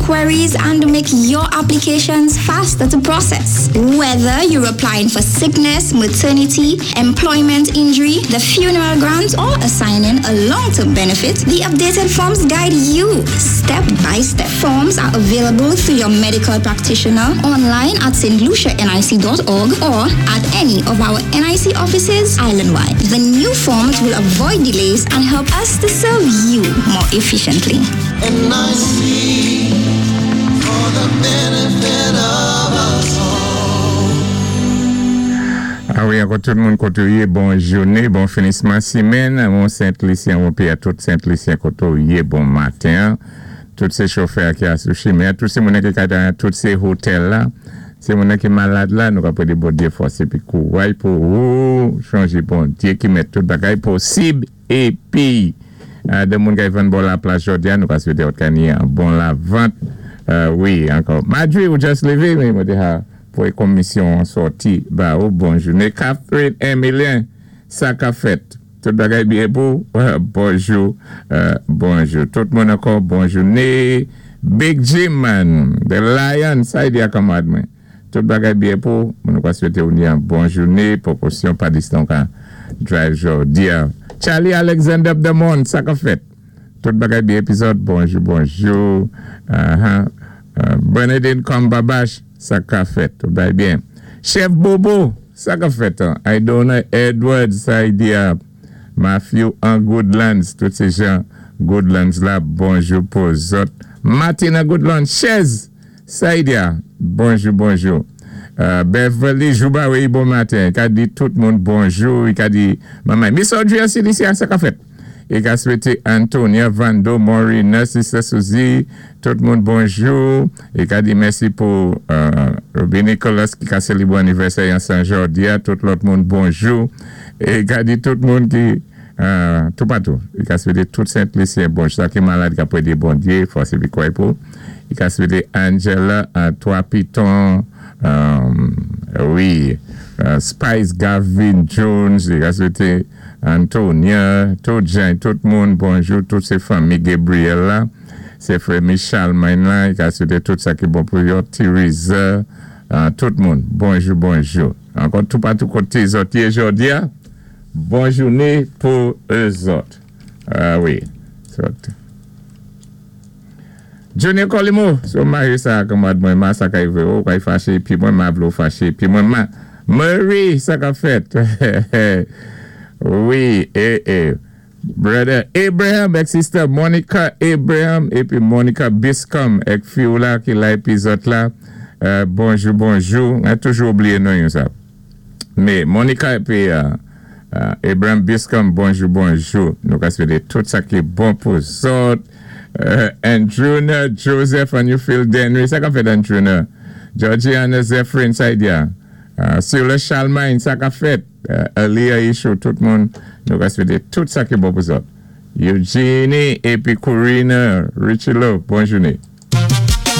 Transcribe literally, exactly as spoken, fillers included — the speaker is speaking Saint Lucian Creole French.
queries and make your applications faster to process. Whether you're applying for sickness, maternity, employment injury, the funeral grant, or assigning a long-term benefit, the updated forms guide you step by step. Forms are available through your medical practitioner, online at stlucianic dot org or at any of our N I C offices island-wide. The new forms will avoid delays and help us to serve you more efficiently. N I C for the benefit of us all. A wi, ankò tout moun koté ou yé, bon jouné, bon finisman simenn, bon Sent Lisyen, bon pi a tout Sent Lisyen koté ou yé, bon maten. Tout sé chofè ki a sou chimen, tout sé moun ki ka dan tout sé hotèl la, sé moun ki malad la, nou ka pwédé Bondyé fòs épi kouway pou ou chonjé Bondyé ki mèt tout bagay posib épi de moun ki vann bò la plaj jòdi a, nou ka swété ot ka ni an bon lavant. Wi, ankò. Madri ou just lévé, men mwen di ha, pou e komisyon sòti, ba ou bon jouné. Catherine Emilien, sa ka fèt. Tout bagay byen pou, bonjou, bonjou. Tout moun ankò, bon jouné. Big Jim man, the lion, sa y di akamad mwen. Tout bagay byen pou, moun nou ka swété ou ni an bon jouné, pwopòsyon pa distan ka drive jòdi a. Charlie Alexander Demond, sa ka fèt. Tout bagay byen epizòd, bonjou, bonjou. Bernadine Kambabash, sa ka fèt, tout bagay byen. Chef Bobo, sa ka fèt. Idona Edwards, sa y di a. Matthew an Goodlands, tout sé jan Goodlands la, bonjou pou zòt. Martina Goodlands, Chez, sa y di a, bonjou, bonjou. Beverly Joubawe, bon maten. Ka di tout moun bonjou, ka di mamay. Miss Audrey Silicia, sa ka fèt. E ka swété Antonia, Vando, Maureen, Sister Suzy, tout moun bonjou. E ka di mèsi pou Ruby Nicholas ki ka sélébwé anivèsè an San Jordia, tout lòt moun bonjou. E ka di tout moun ki tout patou. E ka swété tout Sent Lisyen bonjou. Sa ki malad ka pwédé Bondyé, fòs épi kouway pou. E ka swété Angela, Trois Pitons, wi, Spice Gavin Jones, e ka swété Antonia, tout jan, tout moun bonjou, tout sé fanmi Gabriel la, sé frè Michel men la, e ka swété tout sa ki bon pou yo, Theresa, tout moun, bonjou, bonjou. Ankò tout patou koté zòt yé jòdi a, bon jouné pou zòt. Wi, zòt. Junior Colimo, sou mari sa kamad mwen ma sa ka yve ou, ka y faché, pi mwen ma vlo faché, pi mwen ma, Murray, sa ka fèt. Wi, e, e, brother Abraham ek sister Monica Abraham, épi Monica Biscom, ek fi ou la ki la epizòd la, bonjou, bonjou, mwen toujou oubliyé non yo sa. Mé Monica épi Abraham Biscom, bonjou, bonjou, nou ka swété tout sa ki bon pou zòt. Andrewna Joseph and you feel Denry, sa ka fèt Andrewna? Georgiana Zephyrin, sa y di a. Sula Chalmain, sa ka fèt. Alia Ishu, tout moun, nou ka swété tout sa ki bon pou zòt. Eugenie, épi Corina, Richie Lo, bon jouné.